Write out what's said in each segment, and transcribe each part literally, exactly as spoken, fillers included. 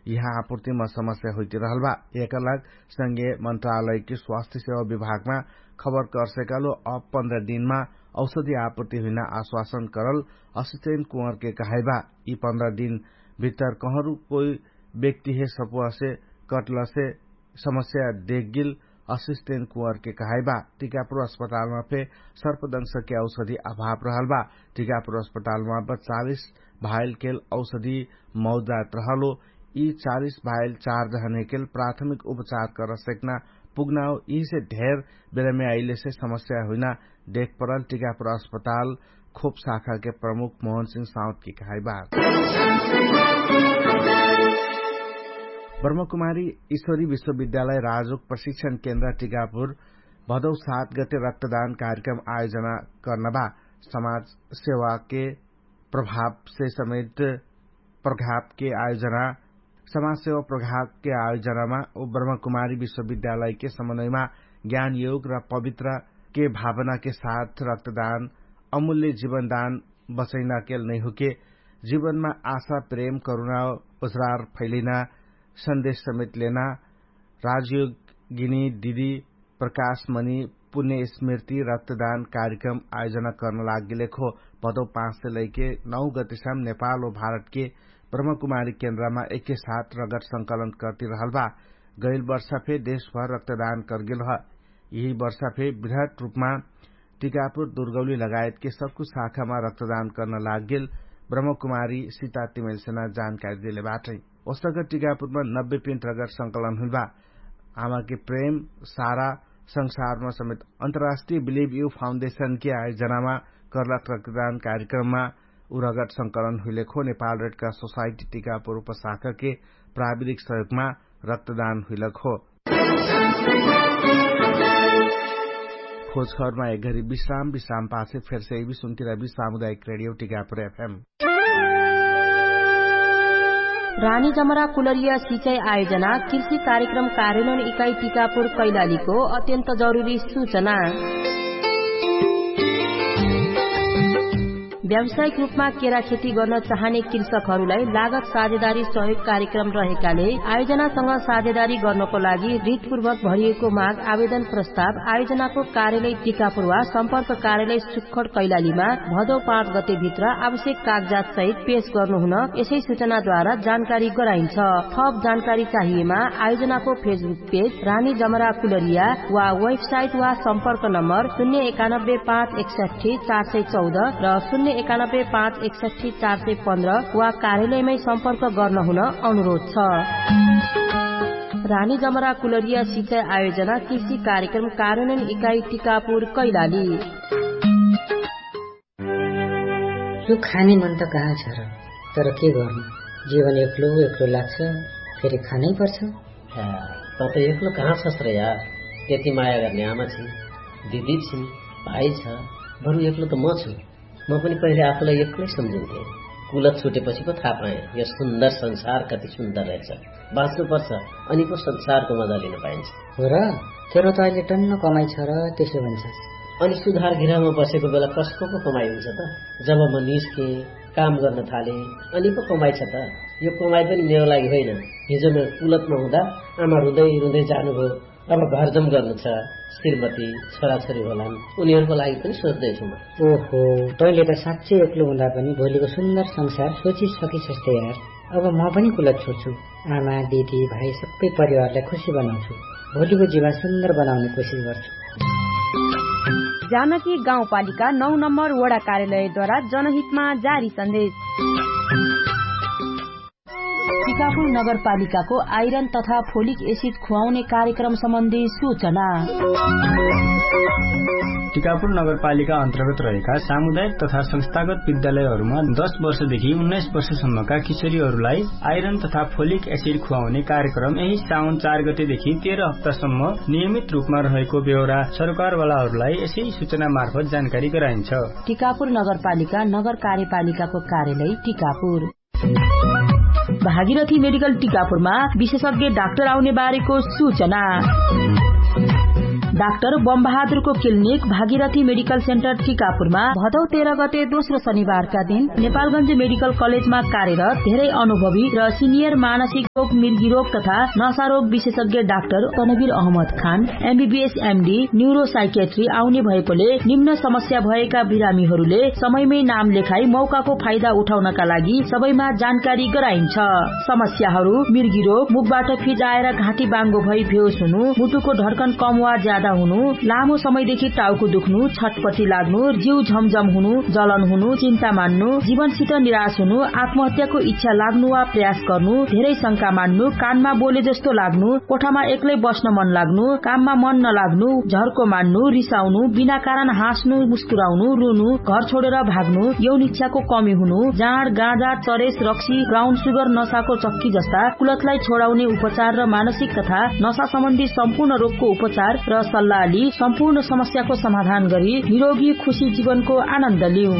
यिहाँ आपुर्तिमा समस्या हुइतिरहल बा। एकरलाग संगे मन्त्रालयके स्वास्थ्य सेवा विभागमा खबर करसेकालो अब पन्ध्र दिनमा औषधि आपुर्ति हुइना आश्वासन करल असिस्टेन्ट कुँवरके कहाइबा। यि पन्ध्र दिन भित्तर कहरु कोइ व्यक्तिहे सपुवासे कटलसे समस्या देखगिल असिस्टेन्ट कुँवरके कहाइबा। टिकापुर अस्पतालमा फे सर्पदंशके औषधि अभाव रहल बा। टिकापुर अस्पतालमा बच्चालिस भाइलकेल औषधि मौजात रहलो। यि चालिस भाइल चार जहनेकेल प्राथमिक उपचार करसेक्ना पुग्नाओ यिसे ढेर बेलामे आइलेसे समस्या हुइना देखपरल टिकापुर अस्पताल खोप शाखाके प्रमुख मोहनसिंह साउतकी कहाइबा। ब्रह्मकुमारी ईश्वरी विश्वविद्यालय राजोक प्रशिक्षण केन्द्र टिकापुर भदौ सात गते रक्तदान कार्यक्रम आयोजना कर्नबा। समाज सेवाके प्रभावसे समेत प्रभावके आयोजना समाज सेवा प्रभावके आयोजनामा ब्रह्मकुमारी विश्वविद्यालयके समन्वयमा ज्ञानयोग र पवित्रके भावनाके साथ रक्तदान अमूल्य जीवनदान बचैनाकेल नैहुके जीवनमा आशा प्रेम करुणा ओजरार फैलिना सन्देश समेत लेना राजयोगिनी दिदी प्रकाशमणि पुण्य स्मृति रक्तदान कार्यक्रम आयोजना कर्न लागिलेखो। भदौ पाँच से लैके नौ गतिसाम नेपाल व भारतके ब्रह्मकुमारी केन्द्रमा एके साथ रगत संकलन कर्ति रहल बा। गैल वर्षा फे देशभर रक्तदान कर्गेल ह। यिही वर्षा फे विधट रूपमा टिकापुर दुर्गौली लगायतके सक्कु शाखामा रक्तदान कर्न लागेल ब्रह्मकुमारी सिता तिमेलसेना जानकारी देले बाटै। ओसक टिकापुरमा नब्बे पिन्ट रगत संकलन हुइबा। आमाके प्रेम सारा संसारमा समेत अन्तर्राष्ट्रिय बिलिभ यु फाउन्डेशनके आयोजनामा कर्लाक रक्तदान कार्यक्रममा उ रगत संकलन हुइलेखो नेपाल रेडका सोसाइटी टिकापुर उपशाखाके प्राविधिक सहयोगमा रक्तदान हुइलक हो। खोजखबरमा एक घरी विश्राम विश्राम पाछे फेरसे एबी सुन्तिरबी सामुदायिक रेडियो टिकापुर एफएम। रानी जमरा कुलरिया सिचाई आयोजना कृषि कार्यक्रम कार्यनोन इकाई टिकापुर कैलालीको अत्यन्त जरुरी सुचना। व्यावसायिक रूपमा केरा खेती गर्न चाहने कृषकहरूलाई लागत साझेदारी सहयोग कार्यक्रम रहेकाले आयोजनासँग साझेदारी गर्नको लागि रितपूर्वक भरिएको माग आवेदन प्रस्ताव आयोजनाको कार्यालय टिकापुर वा सम्पर्क कार्यालय सुक्खड कैलालीमा भदौ पाँच गते भित्र आवश्यक कागजात सहित पेश गर्नुहुन यसै सुचनाद्वारा जानकारी गराइन्छ। थप जानकारी चाहिएमा आयोजनाको फेसबुक पेज रानी जमरा कुलरिया वा वेबसाइट वा सम्पर्क नम्बर शून्य एकानब्बे पाँच एकसठी चार सय चौध र शून्य एकानब्बे पाँच एकसठी चार सय पन्ध्र वा कार्यालयमै सम्पर्क गर्नुहुन अनुरोध छ। रानी जमरा कुलरिया सिचाई आयोजना कृषि कार्यक्रम कार्यान्वयन इकाई टिकापुर कैलाली। यो खाने मन त कहाँ छ र? तर के गर्नु, जीवन एक्लो एक्लो लाग्छ। फेरि खानै पर्छ। त त एक्लो कहाँ छस् र यार? त्यति माया गर्ने आमा छिन्, दिदी छिन्, भाइ छ। बरु एक्लो त म छु। म पनि पहिले आफूलाई एक्लै सम्झिन्थे। कुलत छुटेपछि पो थाहा पाएँ यो सुन्दर संसार कति सुन्दर रहेछ। बाँच्नु पर्छ, अनि पो संसारको मजा लिन पाइन्छ। हो र? तेरो त अहिले टन्न कमाइ छ र त्यसो भन्छस्। अनि सुधार गृहमा बसेको बेला कसको पो कमाइ हुन्छ त? जब म निस्केँ, काम गर्न थालेँ, अनि पो कमाइ छ त? यो कमाइ पनि मेरो लागि होइन। हिजो म कुलतमा हुँदा आमा रुँदै रुँदै जानुभयो। अब घरजम गर्नु छ। श्रीमती, छोराछोरी होलान्, उनीहरूको लागि पनि सोच्दैछु म। ओहो, तैँले त साँच्चै एक्लो हुँदा पनि भोलिको सुन्दर संसार सोचिसकिसस् त यार। अब म पनि कुलत छोड्छु। आमा, दिदी, भाइ सबै परिवारलाई खुसी बनाउँछु। भोलिको जीवन सुन्दर बनाउने कोसिस गर्छु। जानकी गाउँपालिका नौ नम्बर वडा कार्यालयद्वारा जनहितमा जारी सन्देश। टिकापुर नगरपालिकाको आइरन तथा फोलिक एसिड खुवाउने कार्यक्रम सम्बन्धी सूचना। टिकापुर नगरपालिका अन्तर्गत रहेका सामुदायिक तथा संस्थागत विद्यालयहरूमा दस वर्षदेखि उन्नाइस वर्षसम्मका किशोरीहरूलाई आइरन तथा फोलिक एसिड खुवाउने कार्यक्रम यही साउन चार गतेदेखि तेह्र हप्तासम्म नियमित रूपमा रहेको बेहोरा सरकारवालाहरूलाई यसै सूचना मार्फत जानकारी गराइन्छ। टिकापुर नगरपालिका नगर कार्यपालिकाको कार्यालय टिकापुर। भागीरथी मेडिकल टिकापुरमा विशेषज्ञ डाक्टर आउने बारेको सूचना। डाक्टर बमबहादुरको क्लिनिक भागीरथी मेडिकल सेन्टर टिकापुरमा भदौ तेह्र गते दोस्रो शनिबारका दिन नेपालगञ्ज मेडिकल कलेजमा कार्यरत धेरै अनुभवी र सिनियर मानसिक रोग, मिर्गी रोग तथा नशा रोग विशेषज्ञ डाक्टर तनवीर अहमद खान एमबीबीएस एमडी न्युरोसाइकेट्री आउने भएकोले निम्न समस्या भएका बिरामीहरूले समयमै नाम लेखाई मौकाको फाइदा उठाउनका लागि सबैमा जानकारी गराइन्छ। समस्याहरू मिर्गी रोग, मुखबाट फिजाएर घाँटी बाङ्गो भई भेउस हुनु, मुटुको ढर्कन कम वा ज्यादा हुनु, लामो समयदेखि टाउको दुख्नु, छटपटी लाग्नु, जिउ झमझम हुनु, जलन हुनु, चिन्ता मान्नु, जीवनसित निराश हुनु, आत्महत्याको इच्छा लाग्नु वा प्रयास गर्नु, धेरै शंका मान्नु, कानमा बोले जस्तो लाग्नु, कोठामा एक्लै बस्न मन लाग्नु, काममा मन नलाग्नु, झर्को मान्नु, रिसाउनु, बिना कारण हाँस्नु, मुस्कुराउनु, रुनु, घर छोडेर भाग्नु, यौन इच्छाको कमी हुनु, जाँड, गाँजा, चरेस, रक्सी, ब्राउन सुगर, नशाको चक्की जस्ता कुलतलाई छोडाउने उपचार र मानसिक तथा नशा सम्बन्धी सम्पूर्ण रोगको उपचार र सल्लाह लि सम्पूर्ण समस्याको समाधान गरी निरोगी खुशी जीवनको आनन्द लिउ।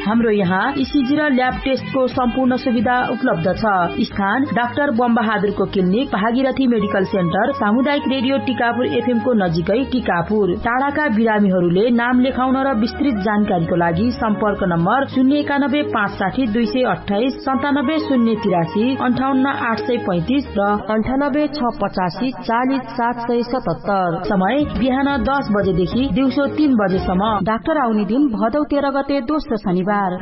हाम्रो यहाँ इसिजी र ल्याब टेस्टको सम्पूर्ण सुविधा उपलब्ध छ। स्थान डाक्टर बमबहादुरको क्लिनिक, भागीरथी मेडिकल सेन्टर, सामुदायिक रेडियो टिकापुर एफएमको नजिकै टिकापुर। टाढाका बिरामीहरूले नाम लेखाउन र विस्तृत जानकारीको लागि सम्पर्क नम्बर शून्य एकानब्बे पाँच साठी दुई सय अट्ठाइस, सन्तानब्बे शून्य तिरासी, अन्ठाउन्न आठ सय पैँतिस र अन्ठानब्बे छ पचासी चालिस सात सय सतहत्तर। समय बिहान दस बजेदेखि दिउँसो तीन बजेसम्म। डाक्टर आउने दिन भदौ तेह्र गते दोस्रो शनिबार। विश्राम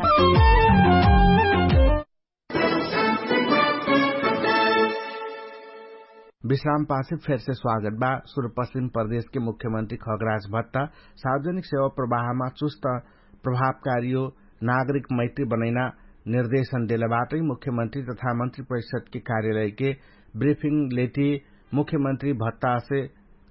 पाछे फेरसे स्वागत बा। सुरुपश्चिम प्रदेशके मुख्यमन्त्री खगराज भत्ता सार्वजनिक सेवा प्रवाहमा चुस्त प्रभावकारीयो नागरिक मैत्री बनैना निर्देशन देलबाटै। मुख्यमन्त्री तथा मन्त्री परिषदके कार्यालयके ब्रिफिङ लेटी मुख्यमन्त्री भत्तासे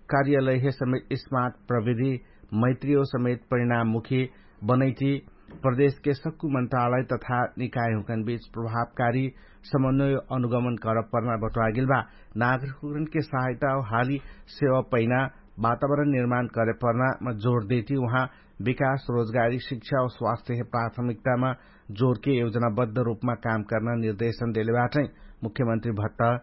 कार्यालयहे समेत स्मार्ट प्रविधि मैत्रीयो समेत परिणाममुखी बनैटी प्रदेशके सक्कु मन्त्रालय तथा निकायहुँकन बीच प्रभावकारी समन्वय अनुगमन करपर्ना बटुवागेल बा। नागरिकहुँकनके सहायता हाली सेवा पैना वातावरण निर्माण करेपर्नामा जोर देटी उहाँ विकास, रोजगारी, शिक्षा और स्वास्थ्यहे प्राथमिकतामा जोरके योजनाबद्ध रूपमा काम कर्ना निर्देशन देलेबाटै। मुख्यमन्त्री भत्ता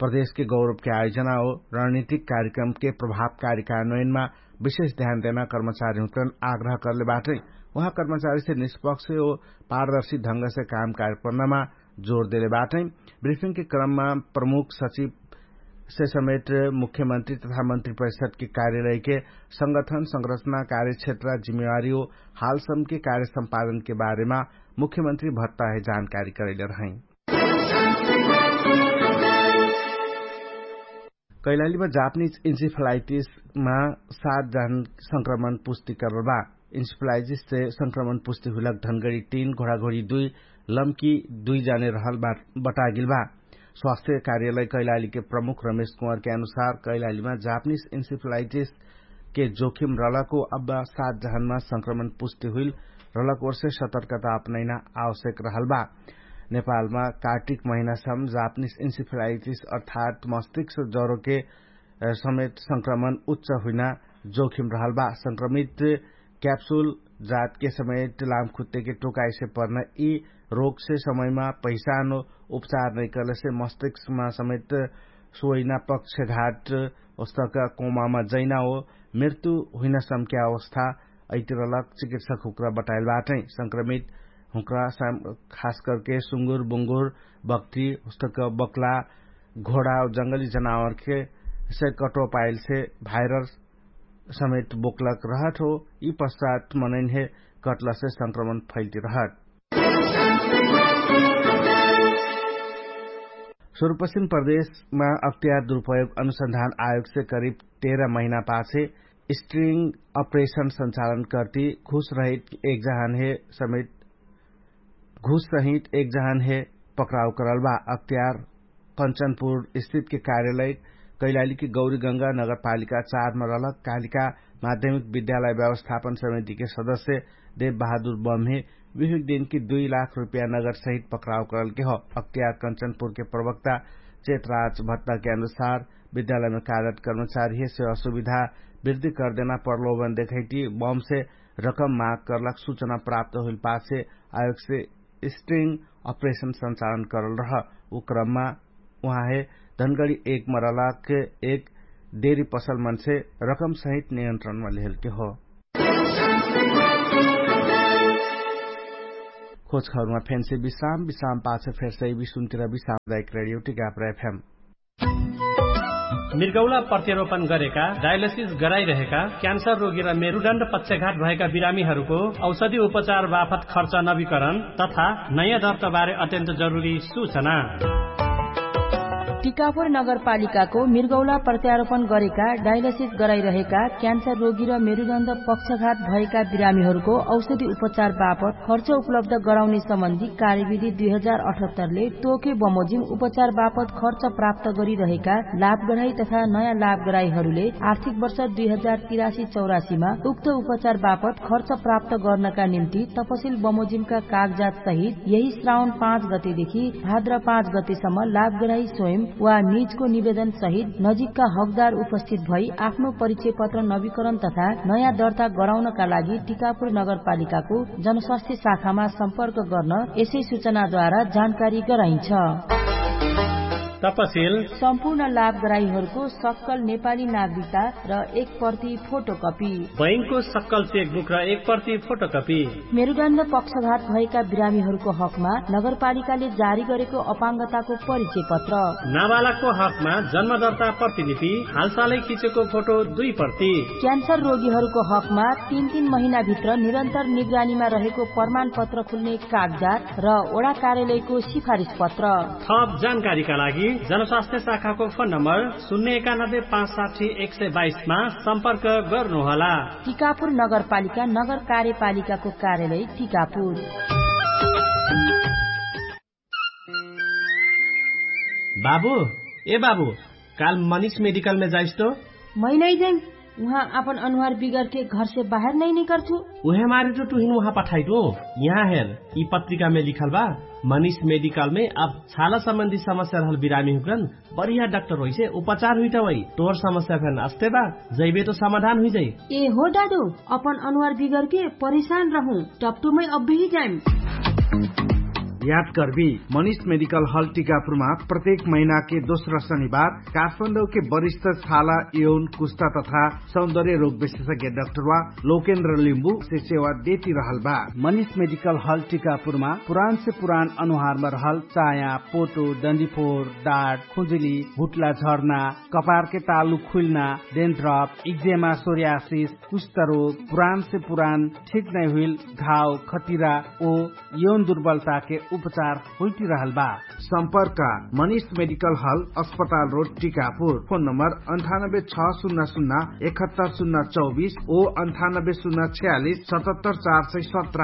प्रदेशके गौरवके आयोजना और रणनीतिक कार्यक्रमके प्रभावकारी कार्यान्वयनमा विशेष ध्यान देना कर्मचारीहुँकन आग्रह करलेबाटै। उहाँ कर्मचारीसे निष्पक्ष और पारदर्शी ढंगसे काम कार्यपर्नामा जोर देलेबाटै। ब्रिफिङके क्रममा प्रमुख सचिवसे समेट मुख्यमन्त्री तथा मन्त्री परिषदके कार्यालयके संगठन संरचना कार्यक्षेत्र जिम्मेवारी और हालसमके कार्य सम्पादनके बारेमा मुख्यमन्त्री भत्ताहे जानकारी करैले रहै। कैलालीमा जापनिज इन्सिफलाइटिसमा सात जन संक्रमण पुष्टि करल बा। इन्सिफलाइटिससे संक्रमण पुष्टि हुइलक धनगडी तीन, घोडाघोडी दुई, लम्की दुई जने रहल बटागिल बा। स्वास्थ्य कार्यालय कैलालीके प्रमुख रमेश कुँवरके अनुसार कैलालीमा जापनिज इन्सिफलाइटिसके जोखिम रहलको अब्बा सात जहनमा संक्रमण पुष्टि हुइल रहलक ओर्से सतर्कता अपनैना आवश्यक रहल बा। नेपालमा कार्तिक महिनासम जापनिज इन्सिफलाइटिस अर्थात् मस्तिष्क जरोके समेत संक्रमण उच्च हुइना जोखिम रहल बा। संक्रमित क्याप्सुल जातके समेत लामखुत्तेके टोकाइसे पर्न यि रोगसे समयमा पहिचान उपचार नैकलसे मस्तिष्कमा समेत सोइना पक्षघाट ओस्तक कोमामा जैना हो मृत्यु हुइना समक्या अवस्था अइतिरलक चिकित्सक हुक्रा बटाइल बाटै। संक्रमित हुक्रा खास करके सुङ्गुर बुङ्गुर बक्ति ओस्तक बक्ला घोडा जंगली जनावरके से कटो पाइलसे भाइरस समेत बोक्लक रहत हो। यि पश्चात मनैन्हे कटलसे संक्रमण फैल्ति रहत। सुरुपश्चिम प्रदेशमा अख्तियार दुरुपयोग अनुसन्धान आयोगसे करिब तेह्र महिना पाछे स्ट्रिङ अपरेशन सञ्चालन कर्ति घुसरहित एक जहानहे समेत घुससहित एक जहानहे पक्राउ करल बा। अख्तियार कञ्चनपुर स्थितके कार्यालय कैलालीके गौरीगङ्गा नगरपालिका चारमा रहलक कालिका माध्यमिक विद्यालय व्यवस्थापन समितिके सदस्य देव बहादुर बम्हे विहुक दिनकी दुई लाख रुपया नगरसहित पक्राउ करलके हो। अख्तियार कञ्चनपुरके प्रवक्ता चेतराज भत्ताके अनुसार विद्यालयमा कार्यरत कर्मचारीहे सेवा सुविधा वृद्धि करदेना प्रलोभन देखैटी बमसे रकम माग करलक सुचना प्राप्त हुइल पाछे आयोगसे स्ट्रिङ अपरेशन सञ्चालन करल रह। उ क्रममा उहाँहे धनगडी एक मरलाके एक देरी पसल मनसे रकम सहित नियन्त्रणमा लिहेलके हो। खोजखबरमा फेन्से विश्राम विश्राम पाछे फेर्सै विश्राम टिकापुर एफएम। मृगौला प्रत्यारोपण गरेका डायलिसिस गराइरहेका क्यान्सर रोगी र मेरुदण्ड पक्षघात भएका बिरामीहरूको औषधि उपचार बापत खर्च नवीकरण तथा नयाँ दर्ताबारे अत्यन्त जरुरी सूचना। टिकापुर नगरपालिकाको मृगौला प्रत्यारोपण गरेका डायलिसिस गराइरहेका क्यान्सर रोगी र मेरुदण्ड पक्षघात भएका बिरामीहरूको औषधि उपचार बापत खर्च उपलब्ध गराउने सम्बन्धी कार्यविधि दुई हजार अठहत्तरले तोके बमोजिम उपचार बापत खर्च प्राप्त गरिरहेका लाभगराई तथा नयाँ लाभगराईहरूले आर्थिक वर्ष दुई हजार तिरासी चौरासीमा उक्त उपचार बापत खर्च प्राप्त गर्नका निम्ति तपसिल बमोजिमका कागजात सहित यही श्रावण पाँच गतेदेखि भाद्र पाँच गतेसम्म लाभगराई स्वयं वा निजको निवेदन सहित नजिकका हकदार उपस्थित भई आफ्नो परिचय पत्र नवीकरण तथा नयाँ दर्ता गराउनका लागि टिकापुर नगरपालिकाको जनस्वास्थ्य शाखामा सम्पर्क गर्न यसै सूचनाद्वारा जानकारी गराइन्छ। तपसिल सम्पूर्ण लाभगराईहरूको सक्कल नेपाली नागरिकता र एक प्रति फोटोकपी। बैंकको सक्कल चेकबुक र एक प्रति फोटोकपी। मेरुदण्ड पक्षघात भएका बिरामीहरूको हकमा नगरपालिकाले जारी गरेको अपाङ्गताको परिचय पत्र। नाबालकको हकमा जन्मदर्ता प्रतिलिपि, हालसालै खिचेको फोटो दुई प्रति। क्यान्सर रोगीहरूको हकमा तीन तीन महिनाभित्र निरन्तर निगरानीमा रहेको प्रमाणपत्र खुल्ने कागजात र वडा कार्यालयको सिफारिस पत्र। थप जानकारीका लागि जनस्वास्थ्य शाखाको फोन नम्बर शून्य एकानब्बे पाँच साठी एक सय बाइसमा सम्पर्क गर्नुहोला। टिकापुर नगरपालिका नगर कार्यपालिकाको कार्यालय टिकापुर। बाबु, ए बाबु, काल मनिष मेडिकलमे जाइस तो? मै नै जाइम। उहाँ आपन अनुहार बिगरके घरसे बाहेर नै निकर्छु। उहे मारे तो तुहिन उहाँ पठाइटो। यहाँ हेर, यि पत्रिकामे लिखल बा, मनिष मेडिकलमे अब छाला सम्बन्धी समस्या रहल बिरामी हुकरन बढिया डाक्टर होइसे उपचार हुइटा वै। तोहर समस्या फेन अस्ते बा, जैबे तो समाधान हुइजाइ। ए हो दादु, अपन अनुहार बिगरके परिशान रहु, टप्टुमै अब्बेही जाइम। याद कर्बी, मनिष मेडिकल हल टिकापुरमा प्रत्येक महिनाके दोस्रा शनिबार काठमाडौके वरिष्ठ छाला यौन कुष्टा तथा सौन्दर्य रोग विशेषज्ञ डाक्टरवा लोकेन्द्र लिम्बुसे सेवा देती रहल बा। मनिष मेडिकल हल टिकापुरमा पुरानसे पुरान अनुहारमा रहल चाया, पोटो, डन्डीफोर, डाट, खुजुली, भुट्ला झर्ना, कपारके तालु खुइल्ना, डेन्ड्रप, इक्जेमा, सोर्यासिस, कुष्ठरोग, पुरानसे पुरान ठिक नै हुइल घाव, खटिरा ओ यौन दुर्बलताके उपचार होइटिरहल बा। सम्पर्क मनिष मेडिकल हल, अस्पताल रोड, टिकापुर। फोन नम्बर अन्ठानब्बे छ सुन्ना सुन्ना एकहत्तर सुन्ना चौबिस ओ अन्ठानब्बे सुन्ना छ्यालिस सतहत्तर चार सय सत्र।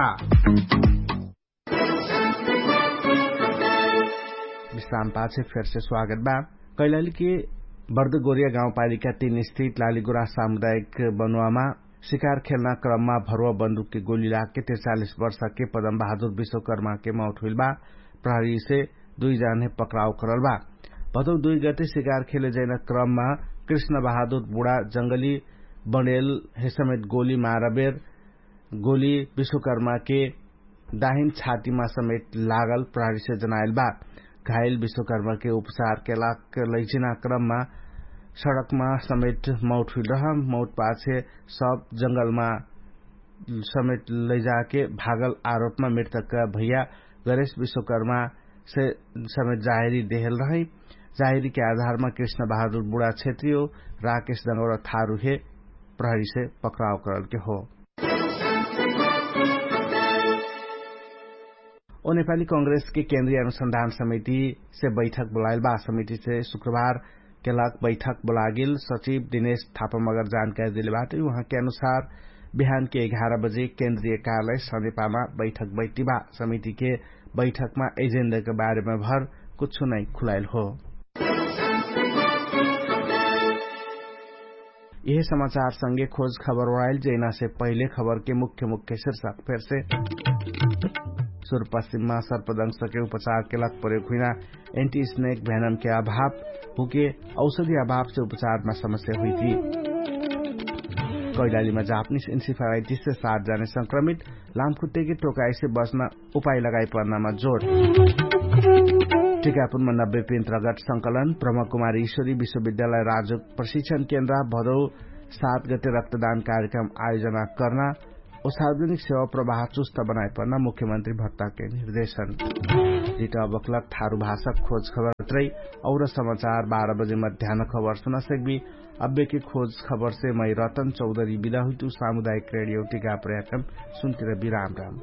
विश्राम पाछे फेरसे स्वागत बा। कैलालीके बर्दगोरिया गाउँपालिका तीन स्थित लालीगुरा सामुदायिक बनुवामा सिकार खेल्ना क्रममा भरुवा बन्दुकके गोली लागके त्रिचालिस वर्षके पदम बहादुर विश्वकर्माके मौत हुइल बा। प्रहरीसे दुइ जाने पक्राउ करल बा। भदौ दुइ गते सिकार खेले जैना क्रममा कृष्ण बहादुर बुढा जंगली बनेल हेसमेत गोली मारबेर गोली विश्वकर्माके दाहिन छातीमा समेत लागल प्रहरीसे जनायल बा। घाइल विश्वकर्माके उपचारके लाग लैजिना क्रममा सडकमा समेत मौत हुइल रह। मौत पाछे सब जंगलमा समेत लैजाके भागल आरोपमा मृतक भैया गरेश विश्वकर्मासे समेत जाहेरी देहल रहै। जाहेरीके आधारमा कृष्ण बहादुर बुढा क्षेत्रीय राकेश दङ्गौरा थारुहे प्रहरीसे पक्राउ करलके हो। ओ नेपाली कांग्रेसके केन्द्रीय अनुसन्धान समितिसे बैठक बोलाइल बा। समितिसे शुक्रबार केलक बैठक बोलागेल सचिव दिनेश थापा मगर जानकारी देले बाटे। उहाँके अनुसार बिहानके एघार बजे केन्द्रीय कार्यालय सनेपामा बैठक बैठिबा। समितिके बैठकमा एजेन्डाके बारेमा भर कुछु नै खुलाइल हो। यह समाचार संगे खोज खबर ओढाइल जैनासे पहिले खबरके मुख्य मुख्य शीर्षक फेरसे सुरपश्चिममा सर्पदंशके उपचारके लग प्रयोग हुइना एन्टी स्नेक भ्यानमके अभाव हुके औषधी अभावसे उपचारमा समस्या हुइथी। कैलालीमा जापनिस इन्सिफालाइटिससे सात जाने संक्रमित। लामखुट्टेके टोकाइसे बस्न उपाय लगाइ पर्नामा जोड। टिकापुरमा नब्बे पेन्त्रगट संकलन ब्रह्मकुमारी ईश्वरी विश्वविद्यालय राजोक प्रशिक्षण केन्द्र भदौ सात गते रक्तदान कार्यक्रम आयोजना कर्ना औ सार्वजनिक सेवा प्रवाह चुस्त बनाइपर्ना मुख्यमन्त्री भट्टाके निर्देशन। जिटा बक्लक थारु भाषक खोज खबरत्रै और समाचार बाह्र बजे मध्यान खबर सुना सक्बी। अब्बेके खोज खबरसे मै रतन चौधरी बिदा हुइतु सामुदायिक रेडियो टिका प्रयाक्रम सुन्तिर बिराम राम।